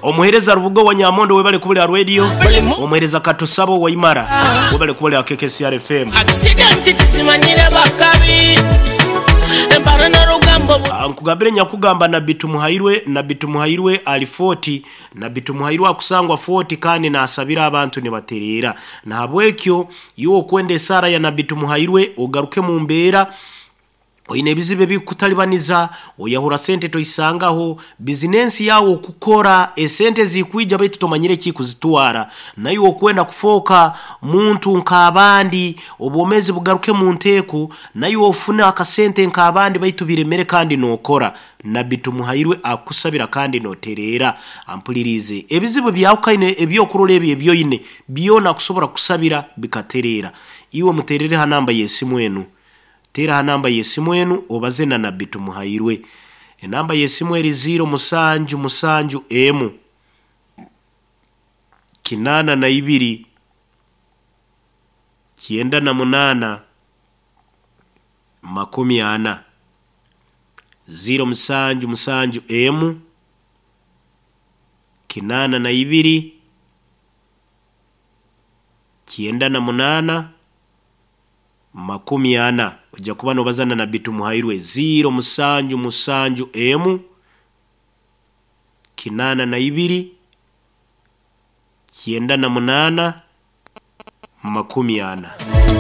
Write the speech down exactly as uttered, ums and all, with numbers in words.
Omuhereza Rubugo wa Nyamondo, webale kubulira radio. Omuhereza Katusabo Waimara, webale kubulira K K C R F M. Accident tisimanyire bakabi empara n'orugambo. Ah, nkugambire nyakugamba Nabbi Tumuhairwe. Nabbi Tumuhairwe ali Fort. Nabbi Tumuhairwe akusangwa Fort kandi nasabira abantu nibatereera. Nahabwekyo iwe okwenda esaara ya Nabbi Tumuhairwe, ogaruke mu mbeera, oine ebizibu ebikutalibaniza, oyahura sente toisangaho, bizinensi yawe okukora esente zikwija baitu tomanyire kikuzitwara, naye okwenda kufooka muntu nk'abandi, obwomezi bugaruke mu nteeko, naye ofune akasente nk'abandi baitu biremere kandi nokora, Nabbi Tumuhairwe akusabira kandi notereera. Ampulirize, ebizibu byawukaine ebyokurora ebyo ebyoine byona kusobora kusabira bikatereera. Iwe muterere ha namba y'esimu enu. Tera ha namba y'esimu enu obaze na Nabbi Tumuhairwe. Enamba y'esimu eri ziro musanju musanju emu kinaana na ibiri kyenda na munaana makumi ana. Ziro musanju musanju emu kinaana na ibiri kyenda na munaana makumi ana. Ojja kuba nobazana na Tumuhairwe. Ziro musanju musanju emu kinaana na ibiri kyenda na munaana makumi ana.